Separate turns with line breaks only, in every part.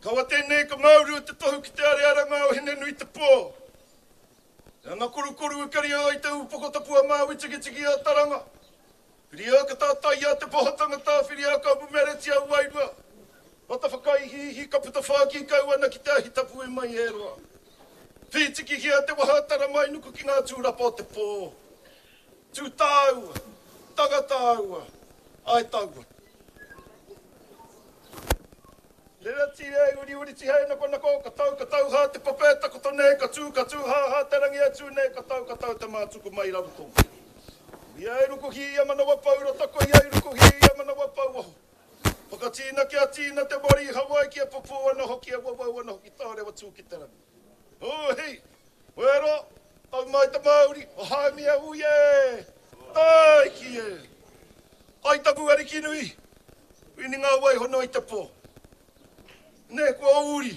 Kaua tēnei ka māuru te tohu ki te arearanga o Hine-nui-te-pō. Te anga korukoru e karia ai te upoko tapu a Māui Tikitiki a Taranga. Whiria ka tātaia te poho tangata, whiria ka mumeretia wairua. Mata whakaihiihi ka puta whākī kau ana ki te ahi tapu e mai e roa. Whītikihia te waha tara mai nuku ki ngā tūrapa o te pō. Tū tāua, tanga tāua, ai taua. Rerati e uriuri tihei nakonako, ka tau ka tau hā te pape takoto nei, ka tū ka tū hā hā te rangi e tū nei, ka tau ka tau te mātuku mai raro tō. Ia e rukuhi ia manawa pou rota ko ia i rukuhi ia manawa pou waho. Whakatīna kia tīna te mori i Hawaiki e pupū ana hoki e wawau ana hoki tārewa tū ki te rangi. Hūhi! Wero! Tau mai te mauri, o Haumia ui e! Tāiki e! Ai taku ariki nui, wini ngā wai hono i te pō. Nē, kua uri,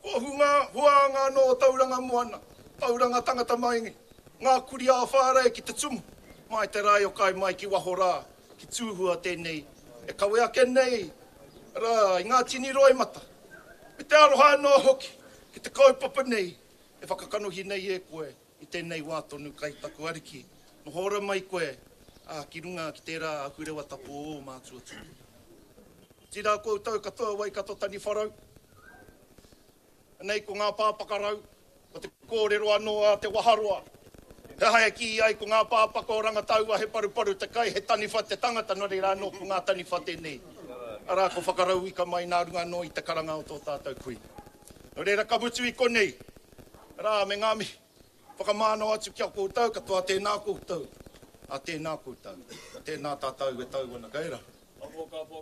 kua hunga huānga anō o Tauranga Moana, Tauranga tangata mai ngā kuri ā-whārei ki te tumu, mai te rae o kai mai ki waho rā, ki Tūhua tēnei e kawe ake nei rā i ngā tini roimata, me te aroha anō hoki ki te kaupapa nei e whakakanohi nei e koe i tēnei wā tonu kai taku ariki, noho ora mai koe, ā, ki runga ki tērā ahurewa tapu o ō mātua tūpuna. Otirā koutou katoa Waikato Taniwharau, anei ko ngā pāpakarau, ko te kōrero anō a Te Waharoa, he aha e kī ai ko ngā pāpaka o Rangataua he paruparu te kai, he taniwha te tangata, nō reira anō ko ngā taniwha tēnei, arā ko Whakarauika mai nā runga anō i te karanga o tō tātou kuini. Nō reira ka mutu i konei, Rā me ngā mihi whakamānawa atu ki a koutou katoa tēnā koutou, ā tēnā koutou, tēnā tātou e tau ana kei raro.
Ka pō, ka pō.